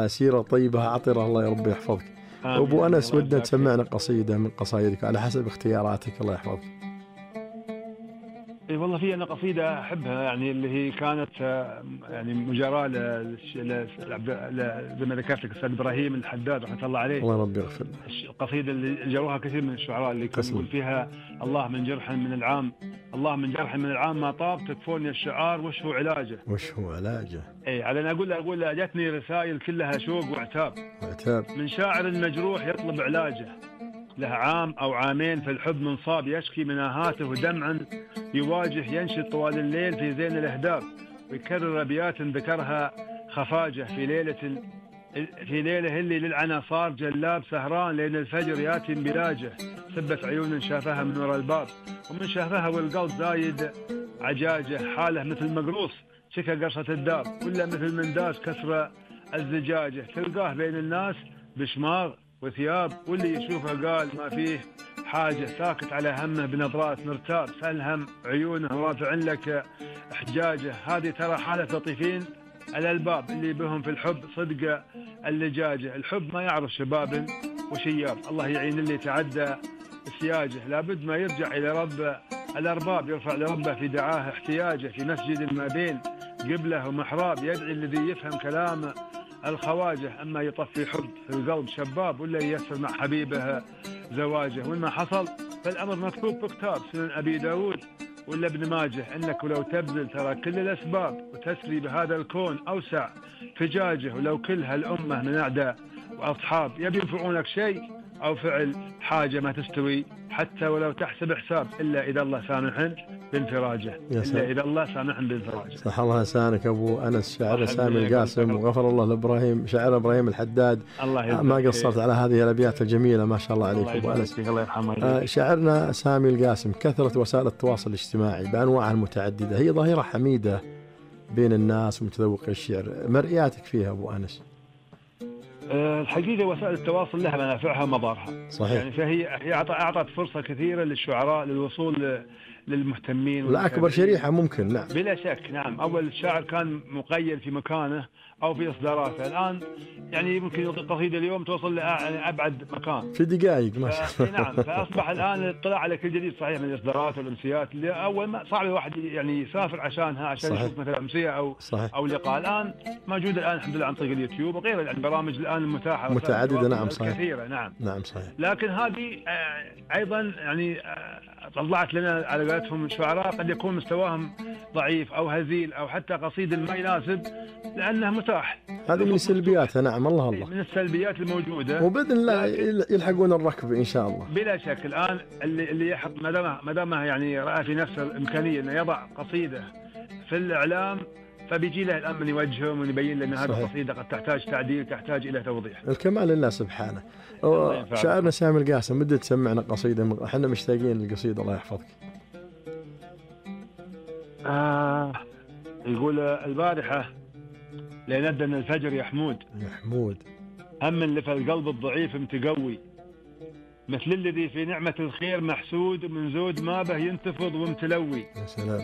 سيرة طيبة عطرة، الله يربي يحفظك. أبو أنس، ودنا تسمعنا قصيدة من قصايدك على حسب اختياراتك، الله يحفظك. اي والله في انا قصيده احبها، يعني اللي هي كانت يعني مجاراه زي ما ذكرت لك الاستاذ ابراهيم الحداد رحمه الله عليه. الله ربي يغفر له. القصيده اللي جروها كثير من الشعراء، اللي كان يقول فيها: الله من جرح من العام، الله من جرح من العام ما طاب، تكفوني الشعار وش هو علاجه. وش هو علاجه؟ اي على انا اقول له جتني رسائل كلها شوق وعتاب، من شاعر مجروح يطلب علاجه، له عام أو عامين في الحب منصاب، يشكي من آهاته دمعا يواجه، ينشد طوال الليل في زين الأهداب، ويكرر أبيات ذكرها خفاجة في ليلة اللي للعنا صار جلاب، سهران لين الفجر ياتي بلاجه، سبت عيون شافها من وراء الباب، ومن شافها والقلب زايد عجاجه، حاله مثل مقروص شكى قرصة الدار، ولا مثل من داس كسر الزجاجة، تلقاه بين الناس بشماغ وثياب، واللي يشوفه قال ما فيه حاجة، ساكت على همه بنظرات مرتاب، سلهم عيونه رافع لك احجاجه، هذه ترى حالة لطيفين الألباب، اللي بهم في الحب صدق اللجاجة، الحب ما يعرف شباب وشياب، الله يعين اللي تعدى سياجه، لابد ما يرجع إلى رب الأرباب، يرفع لربه في دعاه احتياجه، في مسجد ما بين قبله ومحراب، يدعي الذي يفهم كلام الخواجه، أما يطفي حب في القلب شباب، ولا ييسر مع حبيبه زواجه، وإن ما حصل فالأمر مكتوب في كتاب سنن أبي داود ولا ابن ماجه، إنك لو تبذل ترى كل الأسباب، وتسري بهذا الكون أوسع فجاجه، ولو كل هالأمة من أعداء وأصحاب يبي ينفعونك شيء أو فعل حاجة ما تستوي، حتى ولو تحسب حساب، إلا إذا الله سامح بانفراجه، إلا إذا الله سامح بانفراجه. صح الله لسانك أبو أنس، شاعر سامي القاسم، وغفر الله لإبراهيم شاعر إبراهيم الحداد، ما قصرت على هذه الأبيات الجميلة، ما شاء الله عليك أبو أنس. الله يرحمه. شاعرنا سامي القاسم، كثرة وسائل التواصل الاجتماعي بأنواعها المتعددة هي ظاهرة حميدة بين الناس ومتذوقي الشعر، مرئياتك فيها أبو أنس؟ الحقيقة وسائل التواصل لها منافعها ومضارها، صحيح. يعني فهي أعطت فرصة كثيرة للشعراء للوصول للمهتمين، والأكبر شريحة ممكن. نعم بلا شك. نعم، أول الشاعر كان مقيد في مكانه أو في إصداراته، الآن يعني ممكن يلقي قصيدة اليوم توصل لأبعد مكان في دقائق ما شاء الله. نعم، فأصبح الآن الاطلاع على كل جديد صحيح من الإصدارات والأمسيات، اللي أول ما صعب الواحد يعني يسافر عشانها عشان صحيح. يشوف مثلا أمسية أو لقاء، الآن موجود الآن الحمد لله عن طريق اليوتيوب وغيره، يعني البرامج الآن المتاحة متعددة. نعم صحيح، كثيرة. نعم صحيح. لكن هذه أيضا يعني طلعت لنا على قولتهم الشعراء قد يكون مستواهم ضعيف أو هزيل أو حتى قصيدة ما يناسب، لأنه متاح. هذه من سلبياتها. نعم الله من السلبيات الموجودة، وبإذن الله يلحقون الركب إن شاء الله. بلا شك. الآن اللي يحط ما دامه يعني رأى في نفسه الإمكانية أنه يضع قصيدة في الإعلام، فبيجي له الآن من يوجههم ويبين لنا هذه القصيدة قد تحتاج تعديل، تحتاج إلى توضيح. الكمال لله سبحانه. شاعرنا سامي القاسم، بدي تسمعنا قصيدة، احنا مشتاقين للقصيدة، الله يحفظك. يقول البارحة لندن الفجر يا حمود، هم اللي في القلب الضعيف متقوي، مثل الذي في نعمة الخير محسود، ومن زود ما به ينتفض ومتلوي، يا سلام.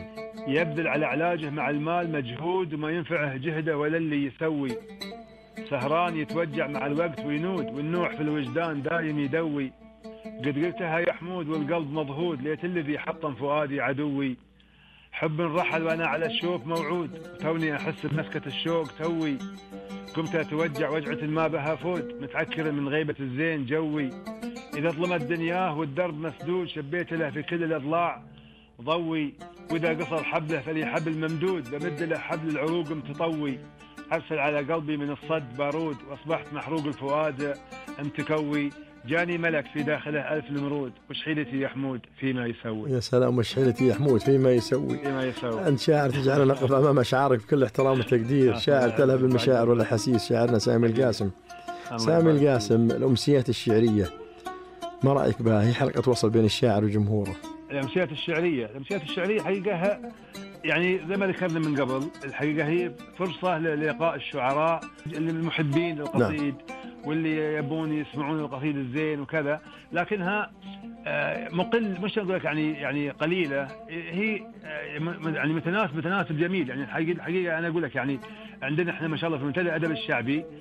يبذل على علاجه مع المال مجهود، وما ينفعه جهده ولا اللي يسوي، سهران يتوجع مع الوقت وينود، والنوح في الوجدان دايم يدوي، قد قلتها يا حمود والقلب مضهود، ليت الذي حطم فؤادي عدوي، حب رحل وانا على الشوق موعود، وتوني احس بمسكة الشوق توي، قمت اتوجع وجعة ما بها فود، متعكر من غيبة الزين جوي، اذا ظلمت دنياه والدرب مسدود، شبيت له في كل الاضلاع ضوي، واذا قصر حبله فلي حبل ممدود، بمد له حبل العروق متطوي، ارسل على قلبي من الصد بارود، واصبحت محروق الفؤاد متكوي، جاني ملك في داخله ألف نمرود، وش حيلتي يا حمود فيما يسوي. يا سلام، وش حيلتي يا حمود فيما يسوي. أنت شاعر تجعلنا نقف أمام أشعارك بكل احترام وتقدير، شاعر تلهب المشاعر والأحاسيس، شاعرنا سامي القاسم. سامي القاسم، الأمسيات الشعرية ما رأيك بها؟ هي حلقة توصل بين الشاعر وجمهوره. الأمسيات الشعرية حقيقة يعني زي ما ذكرنا من قبل، الحقيقة هي فرصة للقاء الشعراء المحبين للقصيد، واللي يبون يسمعون القصيد الزين وكذا، لكنها مقل، مش أقول لك يعني قليلة، هي يعني متناسب جميل. يعني الحقيقة أنا أقول لك يعني عندنا إحنا ما شاء الله في منتدى الأدب الشعبي